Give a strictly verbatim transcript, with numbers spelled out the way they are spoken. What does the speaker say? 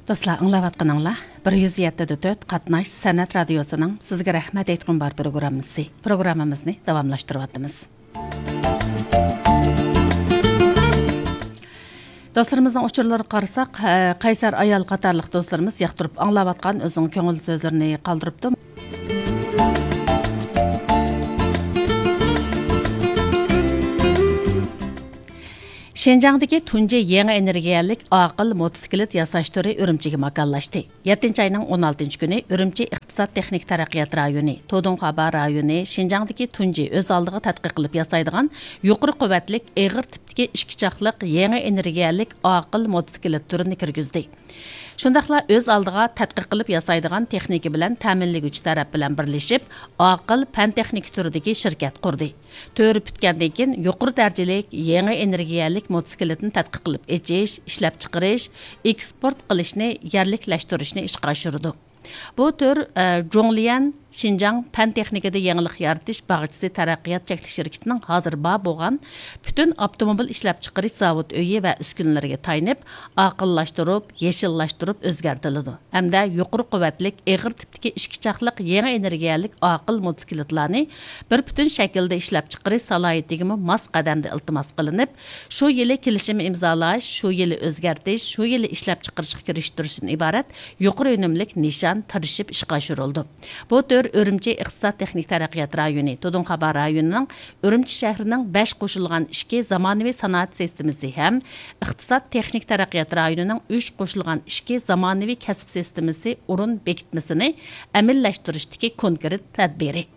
دوستلار، ئاڭلاۋاتقىنىڭلار بىر يۈز يەتتە دە تۆت قاتناش سەنئەت رادىيوسىنىڭ سىزگە رەھمەت ئېيتقۇم بار پروگراممىسى. پروگراممىمىزنى داۋاملاشتۇرۇۋاتىمىز. دوستلىرىمىزنىڭ ئۇچۇرلىرىغا قارىساق، ھە، قەيسەر ئايال قاتارلىق دوستلىرىمىز ياقتۇرۇپ ئاڭلاۋاتقان ئۆزىنىڭ كۆڭۈل سۆزلىرىنى قالدۇرۇپتۇ. شىنجاڭدىكى تۇنجى يېڭى ئېنېرگىيەلىك ئاقىل موتوسىكلىت ياساش تۈرى ئۈرۈمچىگە ماكانلاشتى. يەتتىنچى ئاينىڭ ئون ئالتىنچى كۈنى ئۈرۈمچى ئىقتىساد تېخنىك تەرەققىيات رايونى، تودۇڭخابا رايونى شىنجاڭدىكى تۇنجى ئۆز ئالدىغا تەتقىق قىلىپ ياسايدىغان يۇقىرى قۇۋۋەتلىك ئېغىر تىپتىكى ئىككى چاقلىق يېڭى ئېنېرگىيەلىك ئاقىل موتوسىكلىت تۈرىنى كىرگۈزدى. شۇنداقلا ئۆز ئالدىغا تەتقىق قىلىپ ياسايدىغان تېخنىكا بىلەن تەمىنلىگۈچى تەرەپ بىلەن بىرلىشىپ، ئاقىل پەن تېخنىكا تۈرىدىكى شىركەت قۇردى. تۈر پۈتكەندىن كېيىن، يۇقىرى دەرىجىلىك يېڭى ئېنېرگىيەلىك موتوسىكلىتنى تەتقىق قىلىپ ئېچىش، ئىشلەپچىقىرىش، ئېكسپورت قىلىشنى يەرلىكلەشتۈرۈشنى ئىشقا ئاشۇرىدۇ. بۇ تۈر، ئە، جۇڭليەن شىنجاڭ پەن تېخنىكىدا يېڭىلىق يارىتىش باغچىسى تەرەققىيات چەكلىك شىركىتىنىڭ ھازىر بار بولغان پۈتۈن ئاپتوموبىل ئىشلەپچىقىرىش زاۋۇت ئۆيى ۋە ئۈسكۈنىلىرىگە تايىنىپ، ئاقىللاشتۇرۇپ، يېشىللاشتۇرۇپ ئۆزگەرتىلىدۇ ھەمدە يۇقىرى قۇۋۋەتلىك ئېغىر تىپتىكى ئىككى چاقلىق يېڭى ئېنېرگىيەلىك ئاقىل موتوسىكلىتلارنى بىر پۈتۈن شەكىلدە ئىشلەپچىقىرىش سالاھىيىتىگىمۇ ماس قەدەمدە ئىلتىماس قىلىنىپ، شۇ يىلى كېلىشىم ئىمزالاش، شۇ يىلى ئۆزگەرتىش، شۇ يىلى ئىشلەپچىقىرىشقا كىرىشتۈرۈشتىن ئىبارەت يۇقىرى ئۈنۈملۈك نىشان تىرىشىپ ئىشقا ئاشۇرۇلىدۇ. بۇ تۈر ئۈرۈمچى ئىقتىساد تېخنىك تەرەققىيات رايونى، تودۇڭخابا رايونىنىڭ ئۈرۈمچى شەھىرىنىڭ بەش قوشۇلغان ئىككى زامانىۋى سانائەت سىستېمىسى ھەم ئىقتىساد تېخنىك تەرەققىيات رايونىنىڭ ئۈچ قوشۇلغان ئىككى زامانىۋى كەسىپ سىستېمىسى ئورۇن بېكىتمىسىنى ئەمەلىيلەشتۈرۈشتىكى كونكرېت تەدبىرى.